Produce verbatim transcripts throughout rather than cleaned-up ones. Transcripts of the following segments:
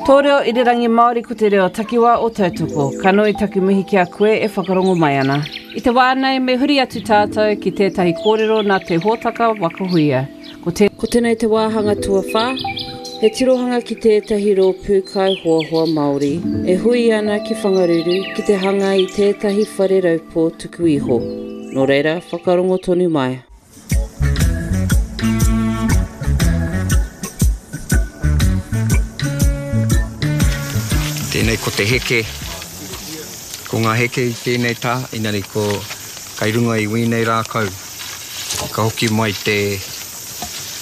Tō reo irirangi Māori ko te reo takiwā o Tautoko. Ka nui taku mihi ki a koe e whakarongo mai ana. I te wā nei me huri atu tātou ki tētahi kōrero nā te hōtaka Waka Huia. Ko, te, ko tēnei te wāhanga tuawhā, he tirohanga ki tētahi rōpū kaihoahoa Māori e hui ana ki Whangaruru ki te hanga i tētahi whare raupō tuku iho. Nō reira, whakarongo tonu mai. Tēnei ko te heke, ko ngā heke i tēnei tā, inari ko kai runga i wīnei rākau. Ka hoki mai te,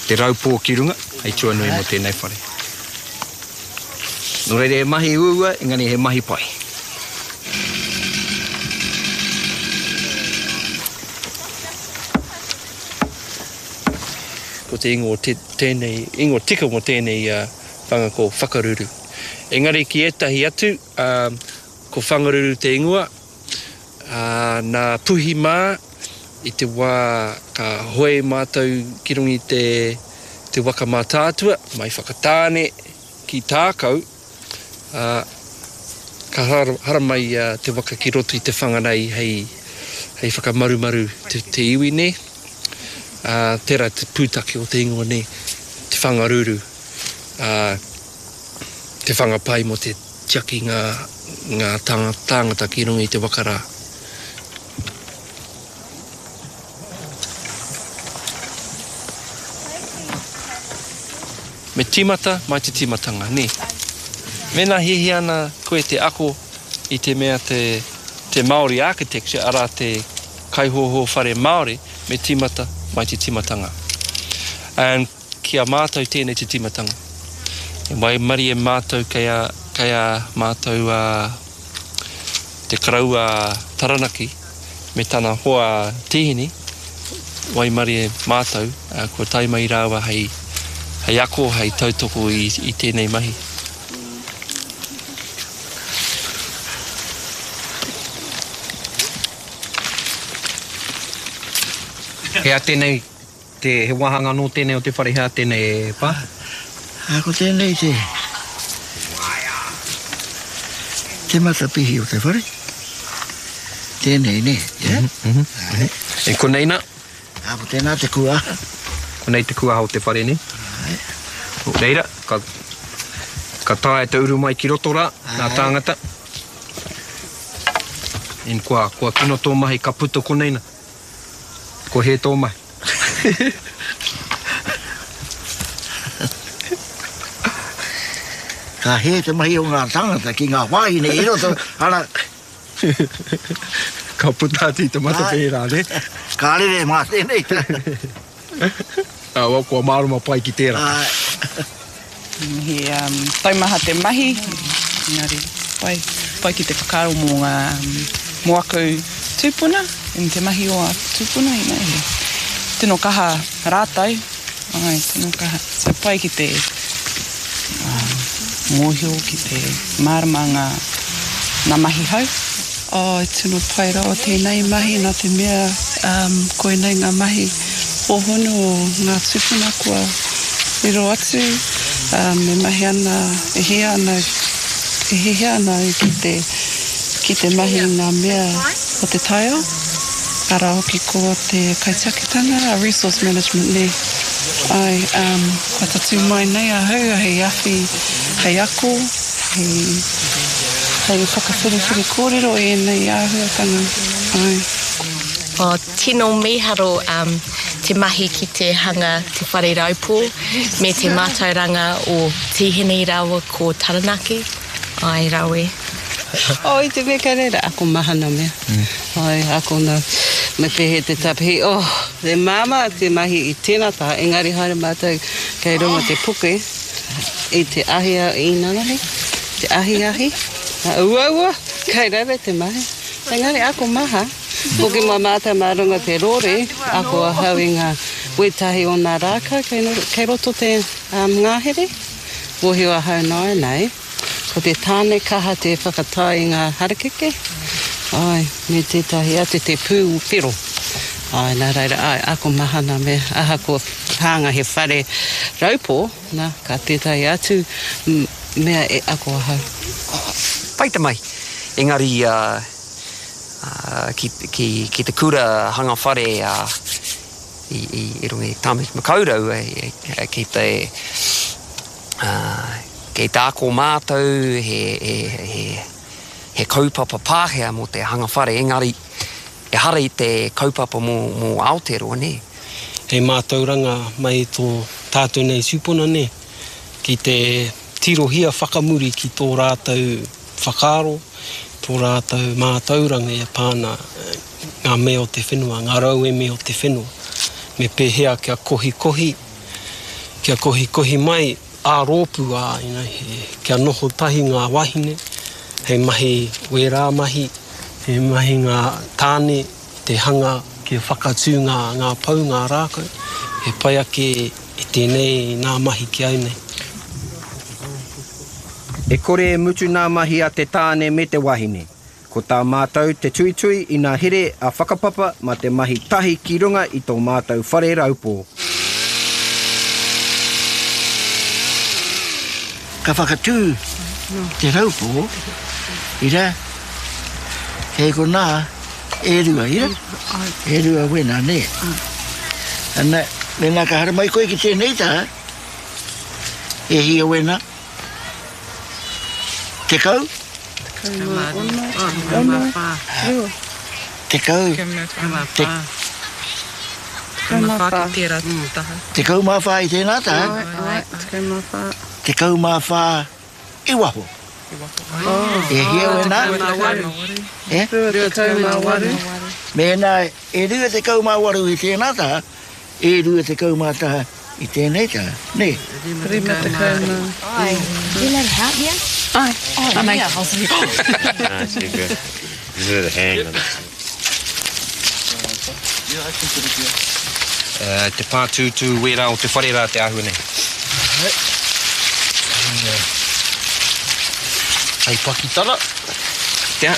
te raupō ki runga, hei tuanui mō tēnei whare. Nō reira he mahi uaua, engari he mahi pai. Ko te ingoa te, tēnei, ingoa tika mō tēnei uh, whanga ko Whakaruru. Engari ki ētahi atu, uh, ko Whangaruru te ingoa, uh, nā Puhi mā, i te wā ka hoe mātou ki runga i te, te waka Mātaatua, mai Whakatāne ki Tākau, uh, ka haramai uh, te waka ki roto i te whanganei hei, hei whakamarumaru te, te iwi nei. Uh, tērā te pūtake o te ingoa nei, te Whangaruru. Uh, te whangapai mō te tiaki ngā, ngā tāngata ki runga i te waka rā. Me tīmata mai te tīmatanga, nē. Mēnā hiahia ana koe te ako i te mea te, te Māori architecture, arā te kaihoho whare Māori, me tīmata mai te tīmatanga. And ki a mātou tēnei te tīmatanga. E waimarie mātou kei a, kei a mātou a, te karaua Taranaki me tana hoa Tihini, waimarie mātou, a, kua tae mai rāua hei, hei ako, hei tautoko i, i tēnei mahi. He a tēnei, te, he wāhanga nō tēnei o te whare, he a tēnei e pā? A ko tēnei te, te matapihi o te whare. Tēnei, ne? Yeah? Mm -hmm, mm -hmm. E konei nā? A ko tēnā te kuaha. Konei te kuaha o te whare, ne? Nō reira, ka, ka taea te uru mai ki roto rā, nā tāngata. En kua, kua kino tō mahi, ka puta konei nā. Ko he tō mahi. Ka he te mahi o ngā tāngata ki ngā wāhine i roto, ara. Ka puta atu i te matapihi rā, ne? Ka rere mā tēnei. Ah, well, kua mārama pai ki tērā. He um, taumaha te mahi, engari pai, pai ki te whakaaro mō ngā, mō aku tūpuna, in te mahi o aku tūpuna, you know, he tino kaha rātou, ai, tino kaha. So pai ki te um, mōhio, ki te mārama ngā, ngā mahi hau. Oh, tino pai rawa tēnei mahi nā te mea um, koinei ngā mahi hōhonu o ngā tūpuna kua riro atu, um, e mahi ana, e hia ana, e hihia ana ki te, ki te mahi ngā mea o te taiao. Arā hoki ko te kaitiakitanga, resource management ne. Ai, um, kua tatū mai nei ahau hei awhi, hei ako, hei, hei whakawhiriwhiri kōrero e nei āhuatanga. Ai. O, tino mīharo um, te mahi ki te hanga te whare raupō me te mātauranga o Tihini rāua ko Taranaki. Ai, rawe. Oh, i te mea kei reira, ako maha nā mea. Mm. Ai, ako nā, me pēhea te tapihi. Oh, te māmā te mahi i tēnā taha, engari haere mātou kei runga te puke i te ahi i nanahi, te ahiahi. Uaua, kei reira te mahi. Engari ako maha. Hoki mā mātou mā runga te rore, ako ahau i ngā wētahi o ngā rākau kei, kei roto te um, ngāhere. Mōhio ahau nāianei, ko te tāne kaha te whakatai i ngā harakeke, ai, me tētahi atu te pū whero. Ai, nā reira, ai, ako maha nā mea, ahakoa hanga he whare raupō, nā, ka tētahi atu mea e ako ahau. Pai te mai. Engari uh, uh, ki, ki, ki te kura hanga whare uh, i, i, i runga i Tāmaki Makaurau e, e, ki te uh, ki te ako mātou he, he, he, he kaupapa Pākehā mō te hanga whare. Engari ehara i te kaupapa mō, mō Aotearoa, nē. Hei mātauranga mai tō tātou nei tūpuna, nē, ki te tirohia whakamuri ki tō rātou whakaaro, tō rātou mātauranga e pāna ngā mea o te whenua, ngā rauemi o te whenua. Me pēhea kia kohikohi, kia kohikohi mai ā rōpū ā, you know, he, kia noho tahi ngā wahine, hei mahi wērā mahi, hei mahi ngā tāne, te hanga kia whakatū ngā, ngā pau, ngā rākau, he pai ake i tēnei nā mahi ki au nei. E kore e mutu nā mahi a te tāne me te wahine. Ko tā mātou te tuitui i nā here a whakapapa mā te mahi tahi ki runga i tō mātou whare raupō. Ka whakatū te raupō, ira, kei konā, e rua, ira? E rua wena, nē. Ana, mēnā ka haramai koe ki tēnei taha, e hia wena? Tekau? Tekau mā ono, tekau mā whā. Tekau. Tekau mā whā. Tekau mā whā ki tērā taha. Tekau mā whā i tēnā taha? Ai, tekau mā whā. Tekau mā whā i waho. E hia wena? E? Rua tekau mā waru. Mēnā e rua tekau mā waru i tēnā taha, e rua tekau mā taha i tēnei taha. Nē? Rima tekau mā. Ai. You let help you? Ai. Oh, Anei. yeah. No, it's too good. Just let it hang on it. Uh, te pātūtū wērā o te whare rā te āhua nei. Hei pakitara. Te,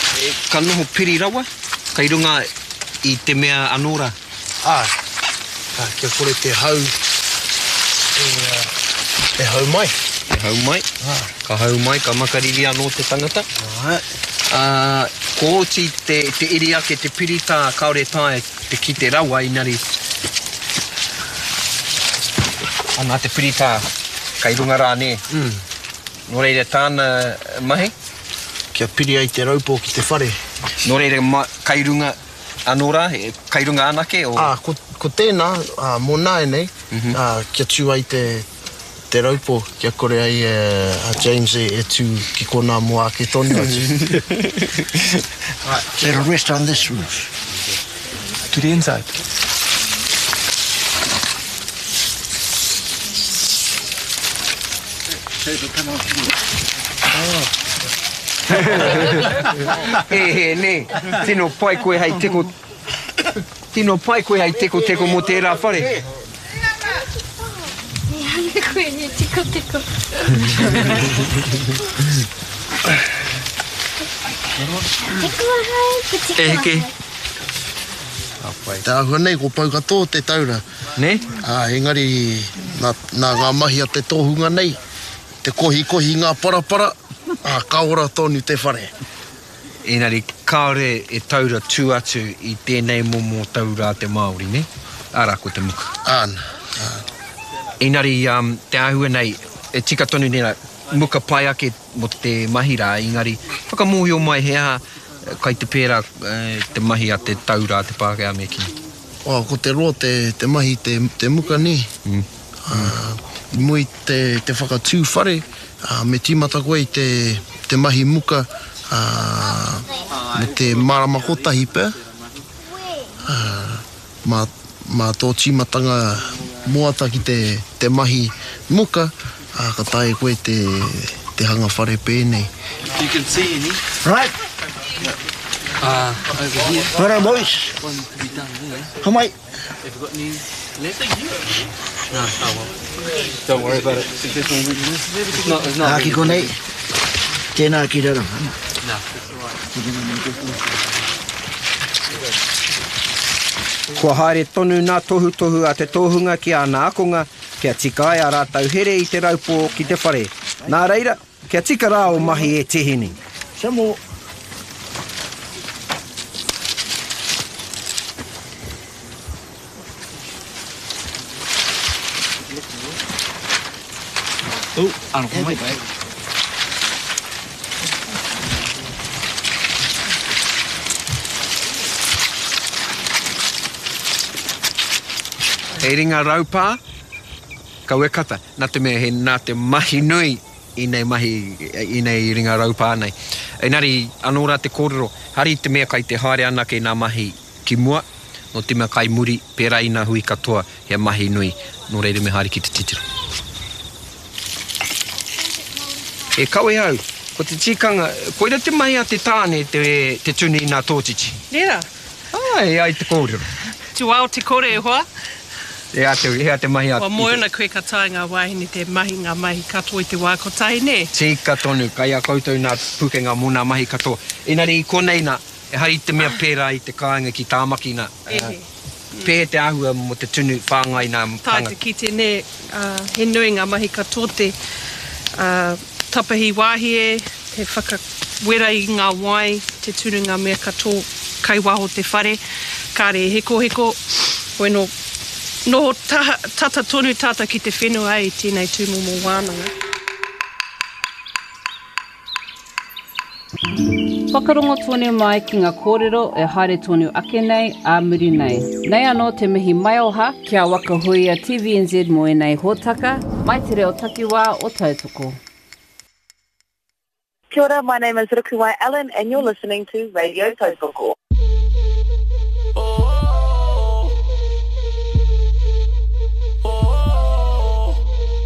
ka noho piri rawa, kai runga i te mea anō rā. Ai, ah, kia kore te hau e, e hau mai. E hau mai. Ah. Ka hau mai, ka makariri anō te tangata. Ai. Uh, ko oti te, te iri ake, te piritā, kāore tae te kite rawa inari. Ana te piritā, kai runga rā nē. Mm. Nō reira tāna mahi? Kia piri ai te raupō ki te whare. Nō reira ma, kai runga anō rā, kai runga anake? O... Ah, ko, ko tēnā, ah, mō nāianei, mm -hmm. ah, kia tū ai te, te raupō, kia kore ai e, a James e, e tū ki konā mō ake tonu atu. Right. It'll rest on this roof. To the inside. Oh. E he, nē. Tino pai koe hei teko... Tino pai koe hei teko teko mō tērā whare. Hanga koe ni teko teko. Teko ahau, ko teko E heke. ahau. Te āhua nei, ko pau katoa te taura. Nē? Ah, engari, nā, nā ngā mahi a te tohunga nei, te kohikohi ngā parapara, ah, ka ora tonu te whare. Engari, kāore e taura tū atu i tēnei momo taura te Māori, ne? Ara, ko te muka. Āna, āna. Engari, um, te āhua nei, e tika tonu nera, muka pai ake mo te mahi rā, engari, whakamōhio mai he aha, kai te pērā te mahi a te taura te Pākehā me kī. Oh, ko te roa te, te mahi te, te muka nē. Mm. Uh, i mui te, te whakatū whare, uh, me tīmata koe i te, te mahi muka uh, me te marama kotahi pea. Uh, mā, mā tō tīmatanga moata ki te, te mahi muka, uh, ka tae koe te, te hanga whare pēnei. You can see any. Right. Uh, over here. Well done, boys. One to be done there. Come mai. Have you got any left? No, oh well. Don't worry about it. It's not, it's not Ā, ki konei. Tēnā ki raro. No, it's all right. Kua haere tonu nā tohutohu a te tohunga ki ana akonga kia tika ai a rātou here i te raupō ki te whare. Nā reira, Kia tika rā o mahi e Tihini. Samo. Oh, ano mai. He ringa raupā, kau e kata, nā te mea he nā te mahi nui i nei mahi, i nei ringa raupā nei. Engari, anō rā te kōrero, hari te mea kai te haere anake nā mahi ki mua, no te mea kai muri, pērā i nā hui katoa, he mahi nui, nō reira me haere ki te titiro. E kawe au, ko te tikanga, koira te mahi a te tāne te, te tuni i nā tōtiti. Nera? Ai, ai te kōrero. Tuao te kore e hoa. E a te, e a te mahi a... Kua moe ana koe ka tae ngā wāhine te mahi ngā mahi katoa i te wā kotahi, nē? Tika tonu, kai a koutou nā pukenga mō nā mahi katoa. Engari i konei nā, e hari te mea pērā i te kāinga ki Tāmaki nā. Ehe. Pēhe te āhua mō te tunu whāngai nā Tae te kite, nē, uh, he nui ngā mahi katoa te uh, tapahi wāhie, te whakawera i ngā wai, te tunu ngā mea katoa kai waho te whare, kāre hekoheko, weno noho taha, tata tonu tata ki te whenua i tēnei tūmomo wānanga. Whakarongo tonu mai ki ngā kōrero e haere tonu ake nei, ā muri nei. Nei anō te mihi maioha ki a Waka Huia T V N Z mō ēnei hōtaka, mai te reo takiwā o Tautoko. Kia ora, my name is Rukuwai Allen and you're listening to Radio Tautoko.